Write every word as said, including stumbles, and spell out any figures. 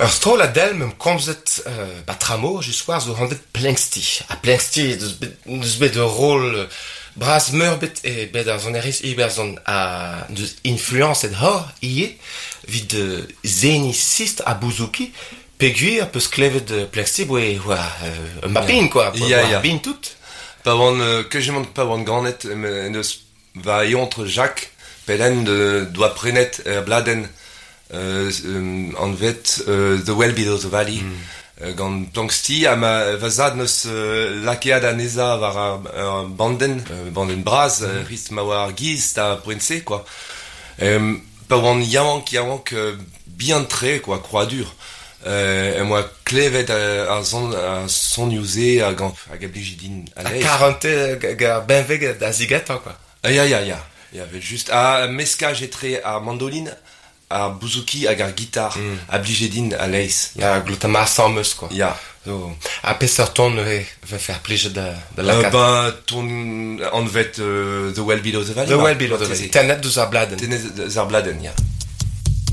Ur strollad del meump komzet euh, ba tramor just war zo anvet Planxty. Ha Planxty deus bet, deus bet ur rol euh, bras meurbet e bet ar sonerezh Iwerzhon ha deus influenset hor ivez 'vit euh, seniñ sistr ha bouzouki peogwir peus klevet euh, Planxty boe oa euh, un mapin quoi, Ya, oa ya. bin tout. Pa oan, euh, kejemant pa oan ganet, em deus va eontr Jacques Pellen de, doa prenet er bladenn euh, euh, anvet euh, The Well Below the Valley mm. euh, gant Planxty ha ma va zad neus euh, lakaet anezhañ war ar, ar bandenn, euh, bandenn bras, mm. euh, rist ma oa ar giz da poent-se quoi. Euh, pa oan yaouank yaouank euh, bihan-tre quoi, krouadur. Euh, em boa klevet euh, ar son ar sonioù-se hag an- hag a blije din Ha a-leizh. karante hag ar benveg da zigetañ quoi. Ah, ya, ya, ya. Il y avait juste un meskaj etre ar mandoline, ar bouzouki hag ar gitar mm. a blije din a-leizh. Ya, glota ma asambles quoi. Ya. Zo, ha peseurt ton neuze va faire plijet da, da Euh, lakaat. ben, ton anvet euh, The Well Below the Valley. The Well Below the Valley. Tennet Tennet deus ar bladenn. deus ar bladenn, ya.